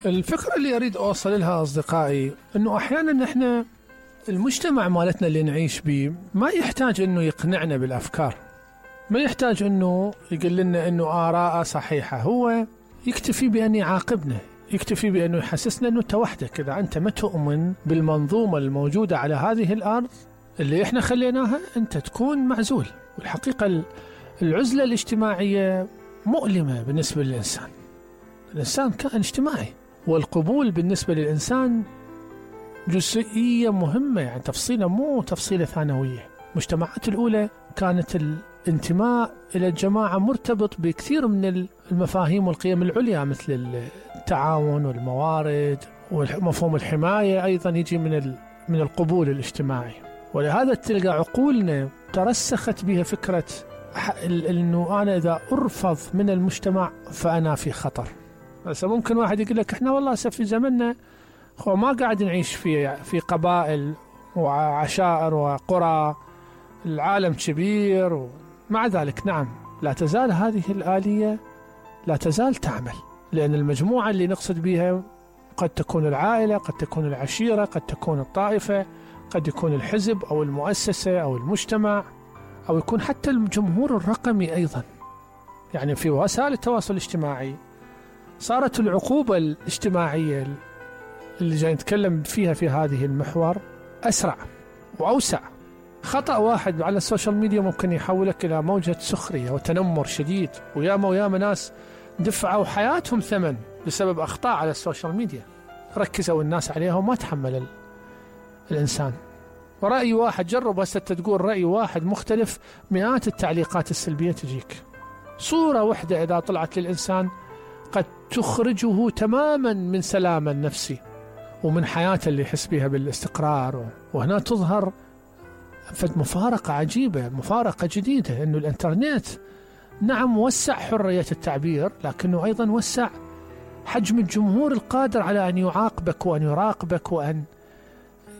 الفكرة اللي أريد أوصل لها أصدقائي أنه أحيانا إحنا المجتمع مالتنا اللي نعيش به ما يحتاج أنه يقنعنا بالأفكار، ما يحتاج أنه يقول لنا أنه آراء صحيحة، هو يكتفي بأن يعاقبنا، يكتفي بأنه يحسسنا أنه أنت وحدك، إذا أنت ما تؤمن بالمنظومة الموجودة على هذه الأرض اللي إحنا خليناها أنت تكون معزول. والحقيقة العزلة الاجتماعية مؤلمة بالنسبة للإنسان. الإنسان كائن اجتماعي، والقبول بالنسبة للإنسان جزئية مهمة، يعني تفصيلة مو تفصيلة ثانوية. المجتمعات الأولى كانت الانتماء إلى الجماعة مرتبط بكثير من المفاهيم والقيم العليا، مثل التعاون والموارد ومفهوم الحماية، أيضا يجي من القبول الاجتماعي. ولهذا تلقى عقولنا ترسخت بها فكرة أنه أنا إذا أرفض من المجتمع فأنا في خطر. بس ممكن واحد يقول لك إحنا والله في زمننا ما قاعد نعيش في قبائل وعشائر وقرى، العالم كبير. ومع ذلك نعم لا تزال هذه الآلية لا تزال تعمل، لأن المجموعة اللي نقصد بها قد تكون العائلة، قد تكون العشيرة، قد تكون الطائفة، قد يكون الحزب أو المؤسسة أو المجتمع، أو يكون حتى الجمهور الرقمي أيضا. يعني في وسائل التواصل الاجتماعي صارت العقوبة الاجتماعية اللي جاي نتكلم فيها في هذه المحور أسرع وأوسع. خطأ واحد على السوشيال ميديا ممكن يحولك إلى موجة سخرية وتنمر شديد، وياما ناس دفعوا حياتهم ثمن بسبب أخطاء على السوشيال ميديا، ركزوا الناس عليها وما تحمل الإنسان. ورأي واحد، جرب هسه تقول رأي واحد مختلف، مئات التعليقات السلبية تجيك. صورة واحدة إذا طلعت للإنسان قد تخرجه تماما من سلامه النفسي ومن حياته اللي يحس بها بالاستقرار. وهنا تظهر مفارقة عجيبة، مفارقة جديدة، أنه الإنترنت نعم وسع حرية التعبير، لكنه أيضا وسع حجم الجمهور القادر على أن يعاقبك وأن يراقبك وأن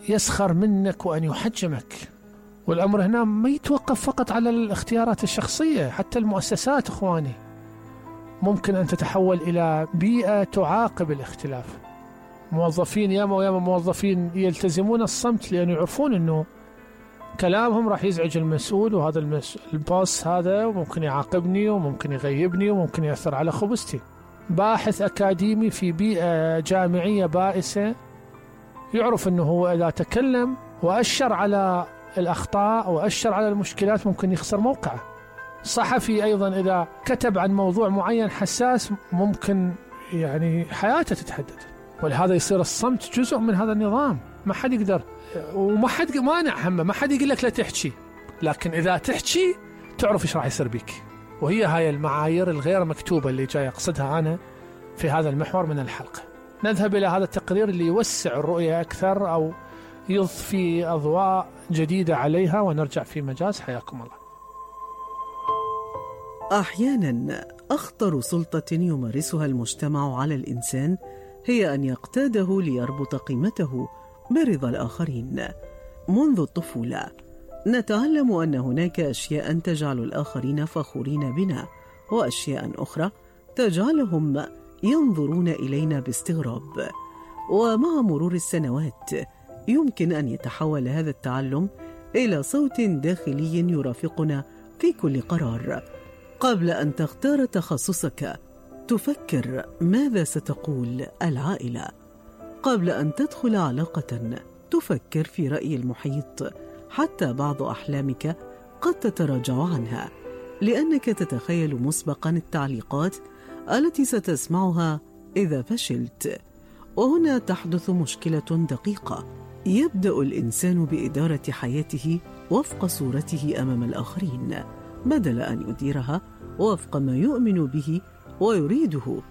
يسخر منك وأن يحجمك. والأمر هنا ما يتوقف فقط على الاختيارات الشخصية، حتى المؤسسات إخواني ممكن أن تتحول إلى بيئة تعاقب الاختلاف. موظفين ياما موظفين يلتزمون الصمت لأنه يعرفون أنه كلامهم راح يزعج المسؤول، وهذا الباص هذا ممكن يعاقبني وممكن يغيبني وممكن يأثر على خبزتي. باحث أكاديمي في بيئة جامعية بائسة يعرف أنه هو إذا تكلم وأشر على الأخطاء وأشر على المشكلات ممكن يخسر موقعه. صحفي أيضا إذا كتب عن موضوع معين حساس ممكن يعني حياته تتهدد. ولهذا يصير الصمت جزء من هذا النظام، ما حد يقدر وما حد مانع همه، ما حد يقول لك لا تحكي، لكن إذا تحكي تعرف إيش راح يصير بك. وهي هاي المعايير الغير مكتوبة اللي جاي أقصدها أنا في هذا المحور من الحلقة. نذهب إلى هذا التقرير اللي يوسع الرؤية أكثر أو يضفي أضواء جديدة عليها، ونرجع في مجاز. حياكم الله. أحيانا أخطر سلطة يمارسها المجتمع على الإنسان هي أن يقتاده ليربط قيمته برضا الآخرين. منذ الطفولة نتعلم أن هناك أشياء تجعل الآخرين فخورين بنا، وأشياء أخرى تجعلهم ينظرون إلينا باستغراب. ومع مرور السنوات يمكن أن يتحول هذا التعلم إلى صوت داخلي يرافقنا في كل قرار. قبل أن تختار تخصصك تفكر ماذا ستقول العائلة. قبل أن تدخل علاقة تفكر في رأي المحيط. حتى بعض أحلامك قد تتراجع عنها لأنك تتخيل مسبقا التعليقات التي ستسمعها إذا فشلت. وهنا تحدث مشكلة دقيقة. يبدأ الإنسان بإدارة حياته وفق صورته أمام الآخرين بدل أن يديرها وفق ما يؤمن به ويريده.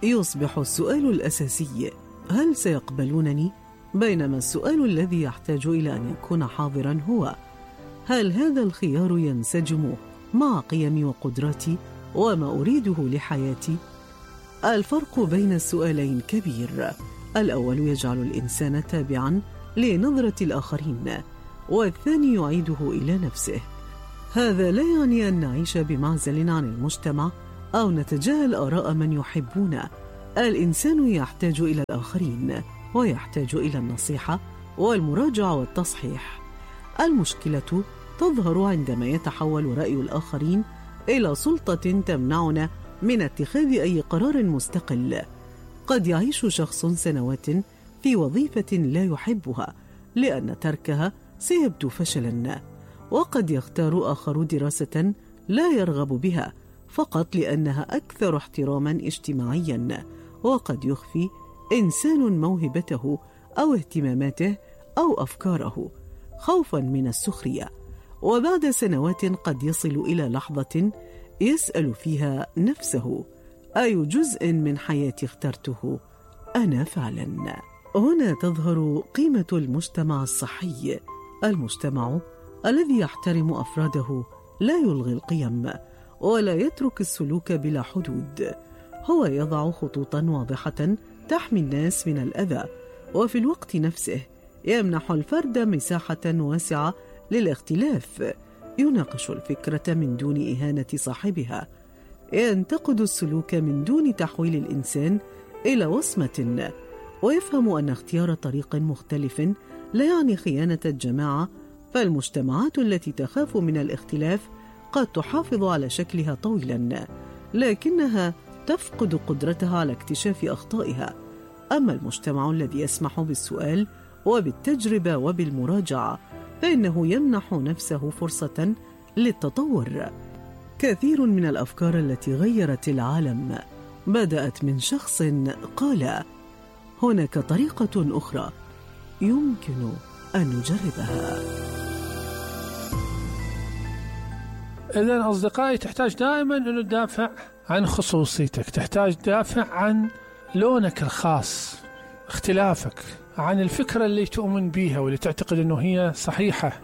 يصبح السؤال الأساسي هل سيقبلونني؟ بينما السؤال الذي يحتاج إلى أن يكون حاضرا هو هل هذا الخيار ينسجم مع قيمي وقدراتي وما أريده لحياتي؟ الفرق بين السؤالين كبير. الأول يجعل الإنسان تابعا لنظرة الآخرين، والثاني يعيده إلى نفسه. هذا لا يعني أن نعيش بمعزل عن المجتمع أو نتجاهل آراء من يحبون، الإنسان يحتاج إلى الآخرين، ويحتاج إلى النصيحة والمراجعة والتصحيح. المشكلة تظهر عندما يتحول رأي الآخرين إلى سلطة تمنعنا من اتخاذ أي قرار مستقل. قد يعيش شخص سنوات في وظيفة لا يحبها لأن تركها سيبدو فشلا، وقد يختار آخر دراسة لا يرغب بها فقط لأنها أكثر احتراما اجتماعيا، وقد يخفي إنسان موهبته أو اهتماماته أو أفكاره خوفا من السخرية. وبعد سنوات قد يصل إلى لحظة يسأل فيها نفسه: أي جزء من حياتي اخترته أنا فعلا؟ هنا تظهر قيمة المجتمع الصحي، المجتمع الذي يحترم أفراده، لا يلغي القيم ولا يترك السلوك بلا حدود. هو يضع خطوطا واضحة تحمي الناس من الأذى، وفي الوقت نفسه يمنح الفرد مساحة واسعة للاختلاف، يناقش الفكرة من دون إهانة صاحبها، ينتقد السلوك من دون تحويل الإنسان إلى وصمة، ويفهم أن اختيار طريق مختلف لا يعني خيانة الجماعة. فالمجتمعات التي تخاف من الاختلاف قد تحافظ على شكلها طويلا، لكنها تفقد قدرتها على اكتشاف أخطائها. أما المجتمع الذي يسمح بالسؤال وبالتجربة وبالمراجعة فإنه يمنح نفسه فرصة للتطور. كثير من الأفكار التي غيرت العالم بدأت من شخص قال: هناك طريقة أخرى يمكن أن نجربها. إذن أصدقائي، تحتاج دائما أن تدافع عن خصوصيتك، تحتاج تدافع عن لونك الخاص، اختلافك، عن الفكرة اللي تؤمن بيها واللي تعتقد أنه هي صحيحة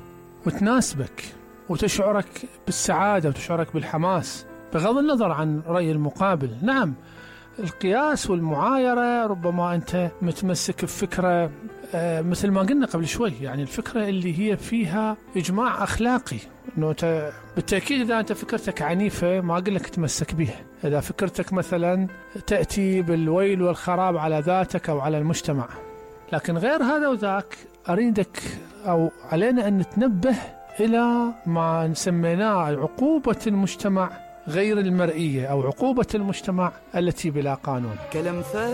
وتناسبك وتشعرك بالسعادة وتشعرك بالحماس بغض النظر عن رأي المقابل. نعم، القياس والمعايرة ربما أنت متمسك بفكرة مثل ما قلنا قبل شوي، يعني الفكرة اللي هي فيها إجماع أخلاقي، أنه بالتأكيد إذا أنت فكرتك عنيفة ما أقول لك تمسك بها. إذا فكرتك مثلا تأتي بالويل والخراب على ذاتك أو على المجتمع، لكن غير هذا وذاك أريدك أو علينا أن نتنبه إلى ما سميناه عقوبة المجتمع غير المرئية أو عقوبة المجتمع التي بلا قانون.